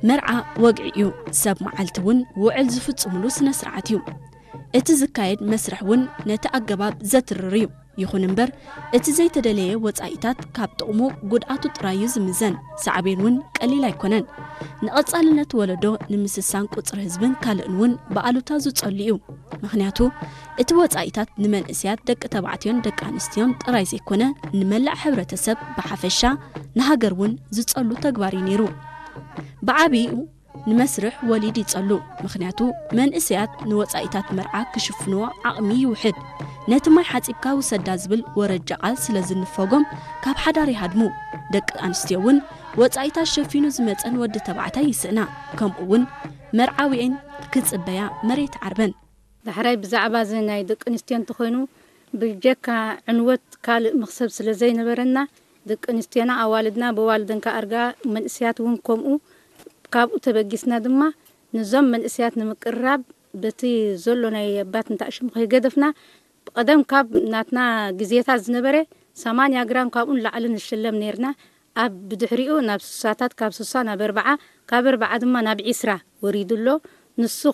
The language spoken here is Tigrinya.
መርዓ ወግዒ እዩ። ሰብ መዓልቲ እውን ውዕል ዝፍጽምሉ ስነ ስርዓት እዩ። እቲ ዝካየድ መስርሕ እውን ነቲ ኣገባብ ዘትርር እዩ። ይኹን እምበር፣ እቲ ዘይተደለየ ወጻኢታት ካብ ጥቕሙ ጉድኣቱ ጥራይ እዩ ዝምዘን። ሳዕቤን እውን ቀሊል ኣይኮነን። ንቐጻልነት ወለዶ፣ ንምስሳን ቁጽሪ ህዝብን ካልእን እውን ብኣሉታ ዝጸሉ እዩ። ምኽንያቱ፣ እቲ ወጻኢታት ንመንእሰያት ደቂ ተባዕትዮን ደቂ ኣንስትዮን ጥራይ ዘይኮነ፣ ንመላእ ሕብረተሰብ ብሓፈሻ፣ ንሃገር እውን ዝጸሉ ተግባር እዩ ነይሩ። ብዓቢኡ ንመስርሕ ወሊድ ይጸሉ። ምኽንያቱ፣ መንእሰያት ንወጻኢታት መርዓ ክሽፍንዎ ዓቕሚ ይውሕድ። ነቲ ማይ ሓጺብካ ውሰዳ ዝብል ወረጃ ቃል ስለ ዝንፈጎም፣ ካብ ሓዳር ይሃድሙ። ደቂ ኣንስትዮ እውን ወጻኢታት ሸፊኑ ዝመጸን ወዲ ተባዕታይ ይስእና። ከምኡ እውን መርዓዊኤን ክጽበያ መሬት ዓርበን። ዳሕራይ ብዛዕባ እዚ ናይ ደቂ ኣንስትዮ እንተኾይኑ፣ ብጀካ ዕንወት ካልእ መኽሰብ ስለ ዘይነበረና፣ ደቂ ኣንስትዮና ኣዋልድና ብዋልደን ከኣርጋ፣ መንእሰያት እውን ከምኡ፣ ካብኡ ተበጊስና ድማ፣ ነዞም መንእሰያት ንምቅርራብ፣ በቲ ዘሎ ናይ ኣባት እንታሽም ከይገደፍና፣ ብቐደም ካብ ናትና ግዜታት ዝነበረ ሰማንያ ግራም ካብኡ ንላዕሊ ንሽለም ነይርና። ኣብ ብድሕሪኡ ናብ ስሳታት፣ ካብ ስሳ ናብ ኣርብዓ፣ ካብ ኣርብዓ ድማ ናብ ዒስራ ወሪዱ ኣሎ። ንሱ